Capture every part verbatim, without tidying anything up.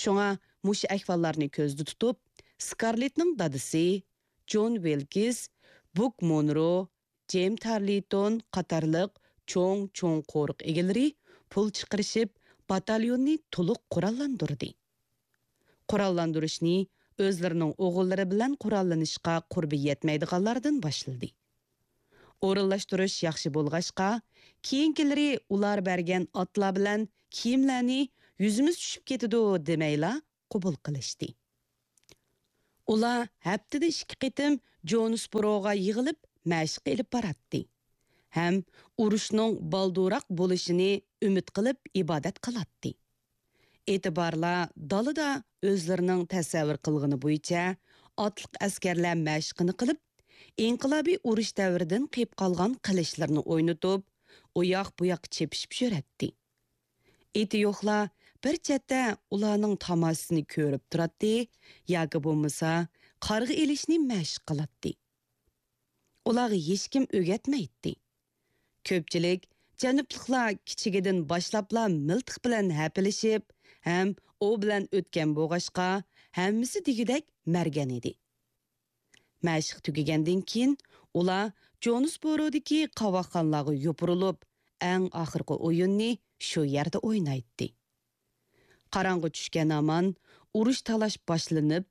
شۇڭا مۇشۇ ئەھۋاللارنى كۆزدە تۇتۇپ، سكارلېتنىڭ دادىسى، جون ۋىلكىس، بۇك مونرو، جېم تارلىتون قاتارلىق چوڭ-چوڭ قورۇق ئىگىلىرى پۇل چىقىرىشىپ، باتاليوننى تولۇق قوراللاندۇردى. قوراللاندۇرۇشنى ئۆزلىرىنىڭ ئوغۇللىرى بىلەن قوراللىنىشقا قۇربى يەتمەيدىغانلاردىن باشلىدى. ئورۇنلاشتۇرۇش ياخشى بولغاچقا، كېيىنكىلىرى ئۇلار بەرگەن ئاتلار بىلەن كىيىملەرنى «يۈزىمىز چۈشۈپ كېتىدۇ» دېمەيلا قوبۇل قىلىشتى. ئۇلار ھەپتىدە ئىككى قېتىم جونسبوروغا يىغىلىپ مەشىق ئېلىپ باراتتى ھەم ئۇرۇشنىڭ بالدۇرراق بولۇشىنى ئۈمىد قىلىپ ئىبادەت قىلاتتى. ئېتىبارلار دالىدا ئۆزلىرىنىڭ تەسەۋۋۇر قىلغىنى بويىچە ئاتلىق ئەسكەرلەر مەشىقىنى قىلىپ، ئىنقىلابىي ئۇرۇش دەۋرىدىن قېلىپ قالغان قىلىچلىرىنى ئوينىتىپ، ئۇياق-بۇياققا چېپىشىپ يۈرەتتى. ئېتى يوقلار بىر چەتتە ئۇلارنىڭ تاماشىسىنى كۆرۈپ تۇراتتى ياكى بولمىسا قارغا ئېلىشنى مەشىق قىلاتتى. ئۇلارغا ھېچكىم ئۆگەتمەيتتى. كۆپچىلىك جەنۇبلۇقلار كىچىكىدىن باشلاپلا مىلتىق بىلەن ھەپىلىشىپ ھەم ئوۋ بىلەن ئۆتكەن بولغاچقا، ھەممىسى دېگۈدەك مەرگەن ئىدى. مەشىق تۈگىگەندىن كېيىن، ئۇلار جونسبورودىكى قاۋاقخانىلارغا يوپۇرۇلۇپ، ئەڭ ئاخىرقى ئويۇننى شۇ يەردە ئوينايتتى. قاراڭغۇ چۈشكەن ھامان ئۇرۇش-تالاش باشلىنىپ،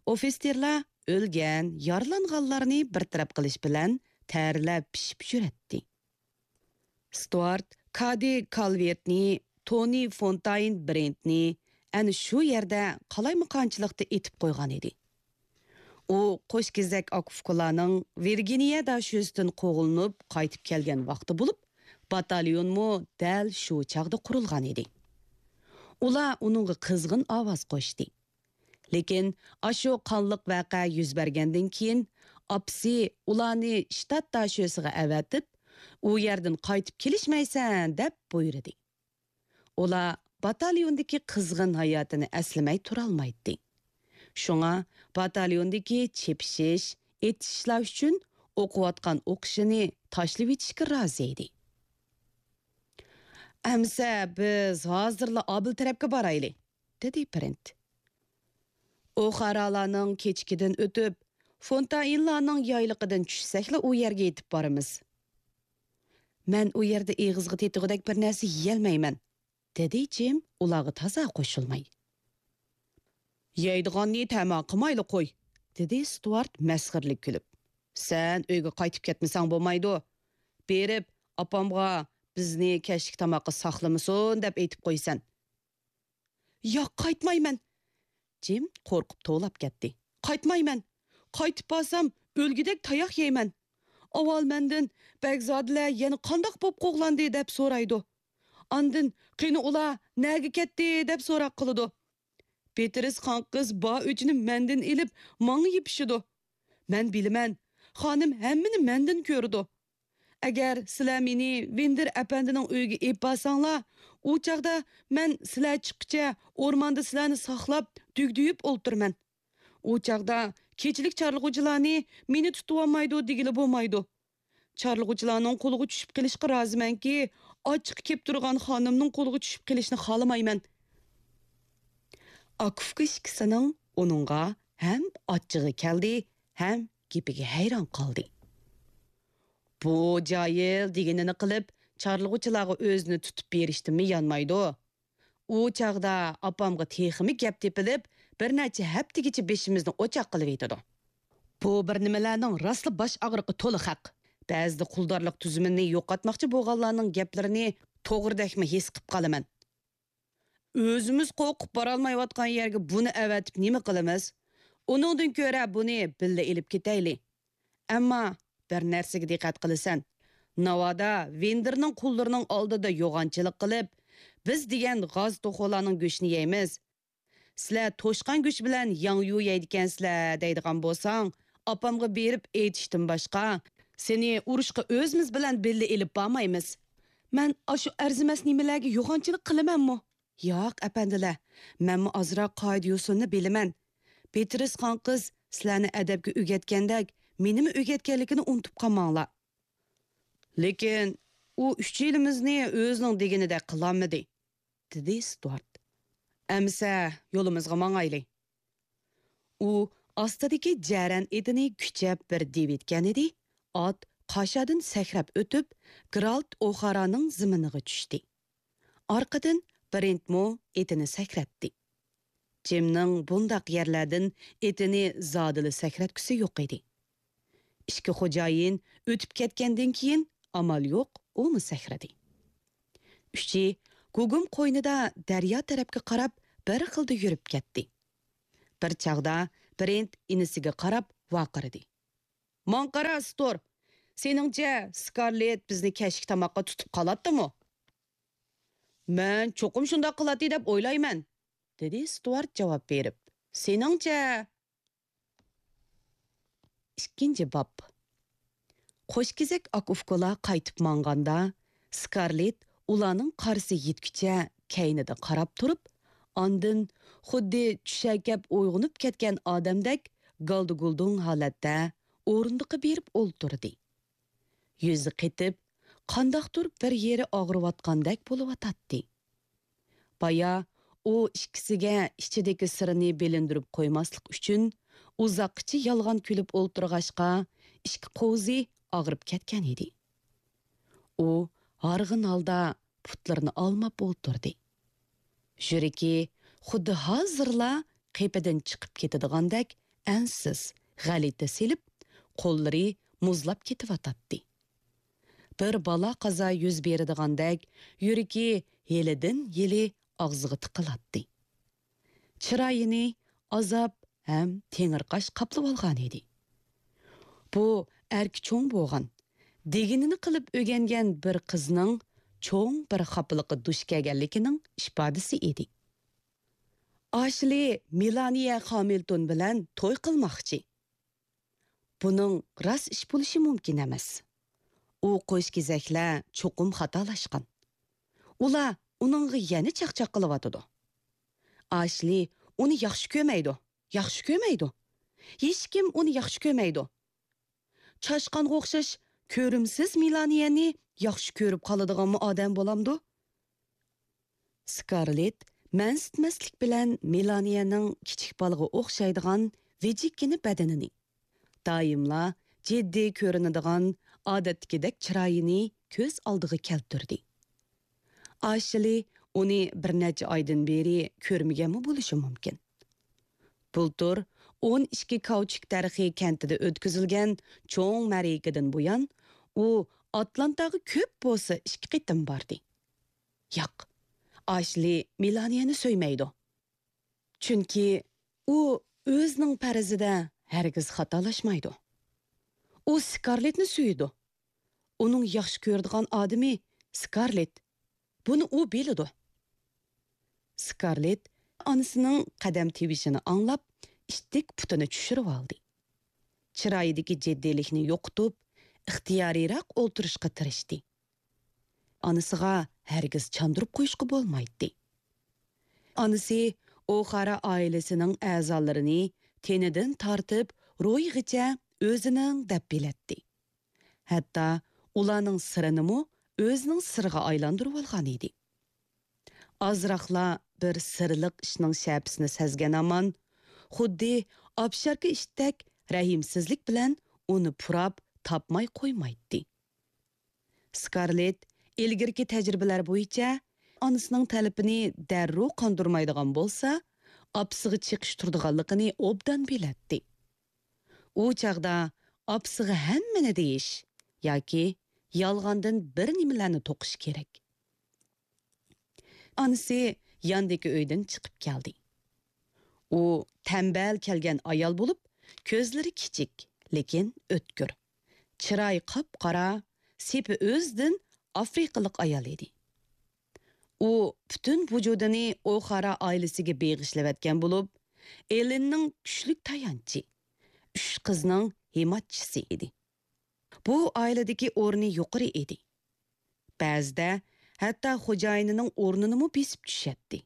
ئوفىتسېرلار ئۆلگەن، يارىلانغانلارنى بىر تەرەپ قىلىش بىلەن تەرلەپ پىشىپ يۈرەتتى. ستۇئارت كادى كالۋېرتنى، تونى فونتاين برېنتنى ئەنە شۇ يەردە قالايمىقانچىلىقتا ئېتىپ قويغان ئىدى. ئۇ قوش كېزەك ئاكا-ئۇكىلارنىڭ ۋىرگىنىيە داشۆسىدىن قوغلىنىپ قايتىپ كەلگەن ۋاقتى بولۇپ، باتاليونمۇ دەل شۇ چاغدا قۇرۇلغان ئىدى. ئۇلار ئۇنىڭغا قىزغىن ئاۋاز قوشتى. لېكىن ئاشۇ قانلىق ۋەقە يۈز بەرگەندىن كېيىن، ئاپىسى ئۇلارنى شتات داشۆسىغا ئەۋەتىپ، «ئۇ يەردىن قايتىپ كېلىشمەيسەن» دەپ بۇيرۇدى. ئۇلار باتاليوندىكى قىزغىن ھاياتىنى ئەسلىمەي تۇرالمايتتى. شۇڭا باتاليوندىكى چېپىشىش، ئېتىشىشلار ئۈچۈن ئوقۇۋاتقان ئوقۇشىنى تاشلىۋېتىشكە رازى ئىدى. «ئەمىسە بىز ھازىرلا ئابىل تەرەپكە بارايلى» دېدى برېنت. «ئوخارالارنىڭ كېچىكىدىن ئۆتۈپ، فونتاينلارنىڭ يايلىقىدىن چۈشسەكلا ئۇ يەرگە يېتىپ بارىمىز.» «مەن ئۇ يەردە ئېغىزغا تېتىغۇدەك بىر نەرسە يېيەلمەيمەن»، دېدى جىم ئۇلارغا تازا قوشۇلماي. «يەيدىغاننى تەما قىلمايلا قوي»، دېدى ستۇئارت مەسخىرىلىك كۈلۈپ. «سەن ئۆيگە قايتىپ كەتمىسەڭ بولمايدۇ. بېرىپ، ئاپامغا بىزنى كەچلىك تاماققا ساقلىمىسۇن دەپ ئېيتىپ قويىسەن.» «ياق، قايتمايمەن!» جىم قورقۇپ توۋلاپ كەتتى. «قايتمايمەن! قايتىپ بارسام، ئۆلگۈدەك تاياق يەيمەن! ئاۋۋال مەندىن بەگزادىلەر يەنە قانداق بولۇپ قوغلاندى دەپ سورايدۇ. ئاندىن قېنى ئۇلار نەگە كەتتى دەپ سوراق قىلىدۇ. بېتىرىس خانقىز بار ئۆچىنى مەندىن ئېلىپ ماڭا يېپىشىدۇ. مەن بىلىمەن، خانىم ھەممىنى مەندىن كۆرىدۇ. ئەگەر سىلەر مېنى ۋىندىر ئەپەندىنىڭ ئۆيىگە ئېلىپ بارساڭلار، ئۇ چاغدا مەن سىلەر چىققىچە ئورماندا سىلەرنى ساقلاپ، دۈگدۈيۈپ ئولتۇرىمەن. ئۇ چاغدا كېچىلىك چارلىغۇچىلارنى مېنى تۇتۇۋالمايدۇ دېگىلى بولمايدۇ. چارلىغۇچىلارنىڭ قولىغا چۈشۈپ قېلىشقا رازىمەنكى، ئاچچىقى كېلىپ تۇرغان خانىمنىڭ قولىغا چۈشۈپ قېلىشنى خالىمايمەن.» ئاكا-ئۇكا ئىككىسىنىڭ ئۇنىڭغا ھەم ئاچچىقى كەلدى، ھەم گېپىگە ھەيران قالدى. «بۇ جاھىل دېگىنىنى قىلىپ، چارلىغۇچىلارغا ئۆزىنى تۇتۇپ بېرىشتىنمۇ يانمايدۇ. ئۇ چاغدا ئاپامغا تېخىمۇ گەپ تېپىلىپ، بىر نەچچە ھەپتىگىچە بېشىمىزنى ئوچاق قىلىۋېتىدۇ. بۇ بىر نېمىلەرنىڭ راسلا باش ئاغرىقى تولا خەق. بەزىدە قۇلدارلىق تۈزۈمىنى يوقاتماقچى بولغانلارنىڭ گەپلىرىنى توغرىدەكمۇ ھېس قىپ قالىمەن. ئۆزىمىز قورقۇپ بارالمايۋاتقان يەرگە بۇنى ئەۋەتىپ نېمە قىلىمىز؟ ئۇنىڭدىن كۆرە بۇنى بىللە ئېلىپ كېتەيلى. ئەمما بىر نەرسىگە دىققەت قىلىسەن. ناۋادا ۋىندىرنىڭ قۇللىرىنىڭ ئالدىدا يوغانچىلىق قىلىپ، بىز دېگەن غاز توخۇلارنىڭ گۆشىنى يەيمىز. سىلەر توشقان گۆشى بىلەن ياڭيۇ يەيدىكەنسىلەر دەيدىغان بولساڭ، ئاپامغا بېرىپ ئېيتىشتىن باشقا، سېنى ئۇرۇشقا ئۆزىمىز بىلەن بىللە ئېلىپ بارمايمىز. مەن ئاشۇ ئەرزىمەس نېمىلەرگە يوغانچىلىق قىلىمەنمۇ؟ ياق، ئەپەندىلەر، مەنمۇ ئازراق قائىدە-يوسۇننى بىلىمەن. بېترىس خان قىز سىلەرنى ئەدەپكە ئۆگەتكەندەك، مېنىمۇ ئۆگەتكەنلىكىنى ئۇنتۇپ قالماڭلار. لېكىن ئۇ ئۈچىيلىمىزنى ئۆزىنىڭ دېگىنىدەك قىلالمىدى، دېدى ستۇئارت. ئەمىسە يولىمىزغا ماڭايلى. ئۇ ئاستىدىكى جەرەن ئېتىنى كۈچەپ بىر دېۋىتكەنىدى، ئات قاشادىن سەكرەپ ئۆتۈپ، گېرالت ئوخارانىڭ زېمىنىغا چۈشتى. ئارقىدىن برېنتمۇ ئېتىنى سەكرەتتى. جىمنىڭ بۇنداق يەرلەردىن ئېتىنى زادىلا سەكرەتكۈسى يوق ئىدى. ئىككى خوجايىن ئۆتۈپ كەتكەندىن كېيىن ئامال يوق ئۇمۇ سەكرىدى. ئۈچى گۇگۇم قوينىدا دەريا تەرەپكە قاراپ بىر خىلدا يۈرۈپ كەتتى. بىر چاغدا برېنت ئىنىسىگە قاراپ ۋارقىرىدى. ماڭا قارا، ستور! سېنىڭچە سكارلېت بىزنى كەچلىك تاماققا تۇتۇپ قالاتتىمۇ؟ مەن چوقۇم شۇنداق قىلاتتى دەپ ئويلايمەن، دېدى ستۇئارت جاۋاب بېرىپ. سېنىڭچە؟ ئىككىنچى باب. قوشكېزەك ئاكا-ئۇكىلار قايتىپ ماڭغاندا، سكارلېت ئۇلارنىڭ قارىسى يەتكۈچە كەينىدە قاراپ تۇرۇپ، ئاندىن خۇددى چۈشەركەپ ئويغىنىپ كەتكەن ئادەمدەك گالدىگۇلدۇڭ ھالەتتە ئورۇندۇققا بېرىپ ئولتۇردى. يۈزى قېتىپ، قانداقتۇر بىر يېرى ئاغرىۋاتقاندەك بولۇۋاتاتتى. بايا ئۇ ئىككىسىگە ئىچىدىكى سىرىنى بىلىندۈرۈپ قويماسلىق ئۈچۈن، ئۇزاققىچە يالغان كۈلۈپ ئولتۇرغاچقا، ئىككى قوۋزى ئاغرىپ كەتكەن ئىدى. ئۇ ھارغىن ھالدا پۇتلىرىنى ئالماپ ئولتۇردى. يۈرىكى خۇددى ھازىرلا قېپىدىن چىقىپ كېتىدىغاندەك ئەنسىز، غەلىتە سېلىپ، قوللىرى مۇزلاپ كېتىۋاتاتتى. بىر بالا-قازا يۈز بېرىدىغاندەك يۈرىكى ھېلىدىن-ھېلى ئاغزىغا تىقىلاتتى. چىرايىنى ئازاب ھەم تېڭىرقاش قاپلىۋالغانىدى. بۇ ئەركە چوڭ بولغان، دېگىنىنى قىلىپ ئۆگەنگەن بىر قىزنىڭ چوڭ بىر خاپىلىققا دۇچ كەلگەنلىكىنىڭ ئىپادىسى ئىدى. ئاشلى مېلانىيە خامىلتون بىلەن توي قىلماقچى. بۇنىڭ راست ئىش بولۇشى مۇمكىن ئەمەس. ئۇ قوشكېزەكلەر چوقۇم خاتالاشقان. ئۇلار ئۇنىڭغا يەنە چاقچاق قىلىۋاتىدۇ. ئاشلى ئۇنى ياخشى كۆرمەيدۇ، ياخشى كۆرمەيدۇ. ھېچكىم ئۇنى ياخشى كۆرمەيدۇ. چاشقانغا ئوخشاش كۆرۈمسىز مېلانىيەنى ياخشى كۆرۈپ قالىدىغانمۇ ئادەم بولامدۇ؟ سكارلېت مەنسىتمەسلىك بىلەن مېلانىيەنىڭ كىچىك بالىغا ئوخشايدىغان ۋىجىككىنە بەدىنىنى، دائىملا جىددىي كۆرۈنىدىغان ئادەتتىكىدەك چىرايىنى كۆز ئالدىغا كەلتۈردى. ئاشلى ئۇنى بىر نەچچە ئايدىن بېرى كۆرمىگەنمۇ بولۇشى مۇمكىن. بۇلتۇر ئون ئىككى كاۋچۇك دەرىخى كەنتىدە ئۆتكۈزۈلگەن چوڭ مەرىكىدىن بۇيان، ئۇ ئاتلانتاغا كۆپ بولسا ئىككى قېتىم باردى. ياق، ئاشلى مېلانىيەنى سۆيمەيدۇ. چۈنكى ئۇ ئۆزىنىڭ پەرىزىدە ھەرگىز خاتالاشمايدۇ. ئۇ سكارلېتنى سۆيىدۇ. ئۇنىڭ ياخشى كۆرىدىغان ئادىمى سكارلېت. بۇنى ئۇ بىلىدۇ. سكارلېت ئانىسىنىڭ قەدەم تىۋىشىنى ئاڭلاپ، ئىتتىك پۇتىنى چۈشۈرۈۋالدى. چىرايىدىكى جىددىيلىكنى يوقىتىپ، ئىختىيارىيراق ئولتۇرۇشقا تىرىشتى. ئانىسىغا ھەرگىز چاندۇرۇپ قويۇشقا بولمايتتى. ئانىسى ئوخارا ئائىلىسىنىڭ ئەزالىرىنى تېنىدىن تارتىپ روھىغىچە ئۆزىنىڭ دەپ بىلەتتى. ھەتتا ئۇلارنىڭ سىرىنىمۇ ئۆزىنىڭ سىرىغا ئايلاندۇرۇۋالغان ئىدى. ئازراقلا بىر سىرلىق ئىشنىڭ شەپىسىنى سەزگەن ھامان، خۇددى ئاپشاركا ئىتتەك رەھىمسىزلىك بىلەن ئۇنى پۇراپ تاپماي قويمايتتى. سكارلېت ئىلگىرىكى تەجرىبىلەر بويىچە ئانىسىنىڭ تەلىپىنى دەررۇ قاندۇرمايدىغان بولسا، ئاپىسىغا چېقىش تۇرىدىغانلىقىنى ئوبدان بىلەتتى. ئۇ چاغدا ئاپىسىغا ھەممىنى دېيىش ياكى يالغاندىن بىر نېمىلەرنى توقۇش كېرەك. ئانىسى ياندىكى ئۆيدىن چىقىپ كەلدى. ئۇ تەمبەل كەلگەن ئايال بولۇپ، كۆزلىرى كىچىك، لېكىن ئۆتكۈر. چىرايى قاپقارا، سېپى ئۆزىدىن ئافرىقىلىق ئايال ئىدى. ئۇ پۈتۈن ۋۇجۇدىنى ئوخارا ئائىلىسىگە بېغىشلىۋەتكەن بولۇپ، ئېلىننىڭ كۈچلۈك تايانچى، ئۈچ قىزنىڭ ھىمايىچىسى ئىدى. بۇ ئائىلىدىكى ئورنى يۇقىرى ئىدى. بەزىدە ھەتتا خوجايىنىنىڭ ئورنىنىمۇ بېسىپ چۈشەتتى.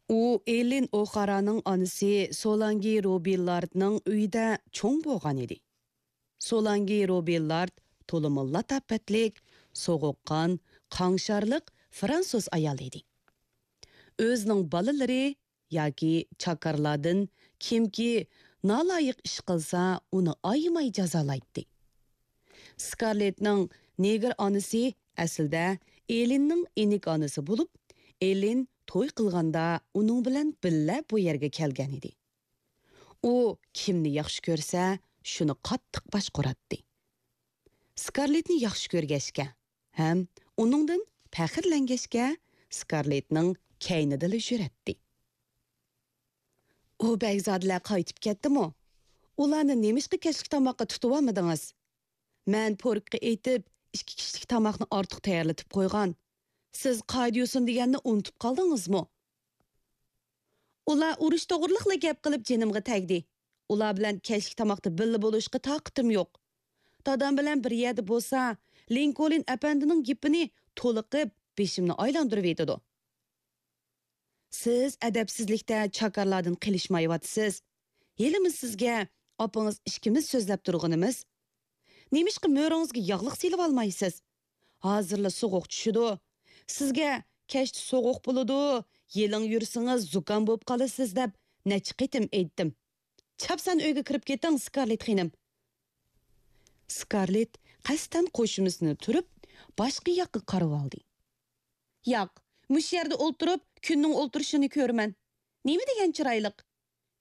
ئۇ ئېلىن ئوخارانىڭ ئانىسى سولانگى روبىللاردنىڭ ئۆيىدە چوڭ بولغان ئىدى. سولانگى روبىللارد تولىمۇ لاتاپەتلىك، سوغۇققان، قاڭشارلىق فرانسۇز ئايال ئىدى. ئۆزىنىڭ بالىلىرى ياكى چاكارلاردىن كىمكى نالايىق ئىش قىلسا، ئۇنى ئايىماي جازالايتتى. سكارلېتنىڭ نېگىر ئانىسى ئەسلىدە ئېلىننىڭ ئىنىك ئانىسى بولۇپ، ئېلىن توي قىلغاندا ئۇنىڭ بىلەن بىللە بۇ يەرگە كەلگەن ئىدى. ئۇ كىمنى ياخشى كۆرسە، شۇنى قاتتىق باشقۇراتتى. سكارلېتنى ياخشى كۆرگەچكە ھەم ئۇنىڭدىن پەخىرلەنگەچكە، سكارلېتنىڭ كەينىدىلا يۈرەتتى. ئۇ بەگزادىلەر قايتىپ كەتتىمۇ؟ ئۇلارنى نېمىشقا كەچلىك تاماققا تۇتۇۋالمىدىڭىز؟ مەن پوركقا ئېيتىپ، ئىككى كىشىلىك تاماقنى ئارتۇق تەييارلىتىپ قويغان. سىز قائىدە-يوسۇن دېگەننى ئۇنتۇپ قالدىڭىزمۇ؟ ئۇلار ئۇرۇش توغرىلىقلا گەپ قىلىپ جېنىمغا تەگدى. ئۇلار بىلەن كەچلىك تاماقتا بىللە بولۇشقا تاقىتىم يوق. دادام بىلەن بىر يەردە بولسا، لىنكولن ئەپەندىنىڭ گېپىنى تولۇقىپ، بېشىمنى ئايلاندۇرۇۋېتىدۇ. سىز ئەدەپسىزلىكتە چاكارلاردىن قېلىشمايۋاتىسىز. ھېلىمۇ سىزگە ئاپىڭىز ئىككىمىز سۆزلەپ تۇرغىنىمىز. نېمىشقا مۈرىڭىزگە ياغلىق سېلىۋالمايسىز؟ ھازىرلا سوغۇق چۈشىدۇ. سىزگە كەچتە سوغۇق بولىدۇ، يېلىڭ يۈرسىڭىز زۇكام بولۇپ قالىسىز دەپ نەچچە قېتىم ئېيتتىم. چاپسان ئۆيگە كىرىپ كېتىڭ، سكارلېت خېنىم. سكارلېت قەستەن قوشۇمىسىنى تۈرۈپ، باشقا ياققا قارىۋالدى. ياق، مۇشۇ يەردە ئولتۇرۇپ، كۈننىڭ ئولتۇرۇشىنى كۆرىمەن. نېمە دېگەن چىرايلىق!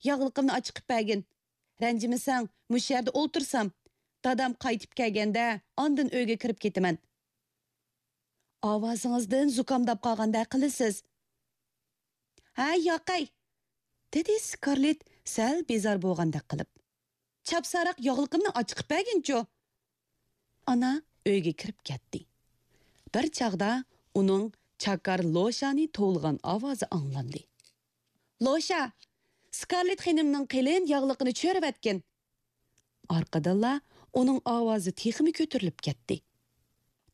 ياغلىقىمنى ئاچىقىپ بەرگىن. رەنجىمىسەڭ، مۇشۇ يەردە ئولتۇرسام، دادام قايتىپ كەلگەندە، ئاندىن ئۆيگە كىرىپ كېتىمەن. ئاۋازىڭىزدىن زۇكامداپ قالغاندەك قىلىسىز. ھە، ياقەي، دېدى سكارلېت سەل بىزار بولغاندەك قىلىپ. چاپسانراق ياغلىقىمنى ئاچىقىپ بەرگىنچۇ! ئانا ئۆيگە كىرىپ كەتتى. بىر چاغدا ئۇنىڭ چاكار لوشانى توۋلىغان ئاۋازى ئاڭلاندى. لوشا، سكارلېت خېنىمنىڭ قېلىن ياغلىقىنى چۆرۈۋەتكىن! ئارقىدىنلا ئۇنىڭ ئاۋازى تېخىمۇ كۆتۈرۈلۈپ كەتتى.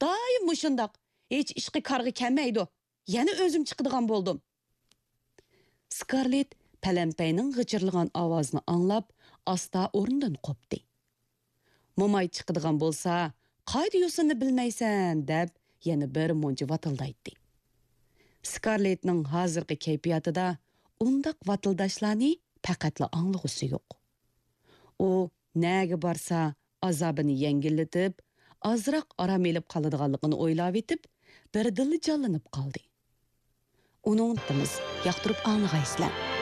دائىم مۇشۇنداق، ھېچ ئىشقا كارغا كەلمەيدۇ. يەنە ئۆزۈم چىقىدىغان بولدۇم. سكارلېت پەلەمپەينىڭ غىچىرلىغان ئاۋازىنى ئاڭلاپ، ئاستا ئورنىدىن قوپتى. موماي چىقىدىغان بولسا، قائىدە-يوسۇننى بىلمەيسەن، دەپ يەنە بىر مۇنچە ۋاتىلدايتتى. سكارلېتنىڭ ھازىرقى كەيپىياتىدا ئۇنداق ۋاتىلداشلارنى پەقەتلا ئاڭلىغۇسى يوق. ئۇ نەگە بارسا، ئازابىنى يەڭگىللىتىپ، ئازراق ئارام ئېلىپ قالىدىغانلىقىنى ئويلاۋېتىپ، بىردىنلا جانلىنىپ قالدى. ئۇنىڭ تىمىز ياقتۇرۇپ ئاڭلىغايسىلەر.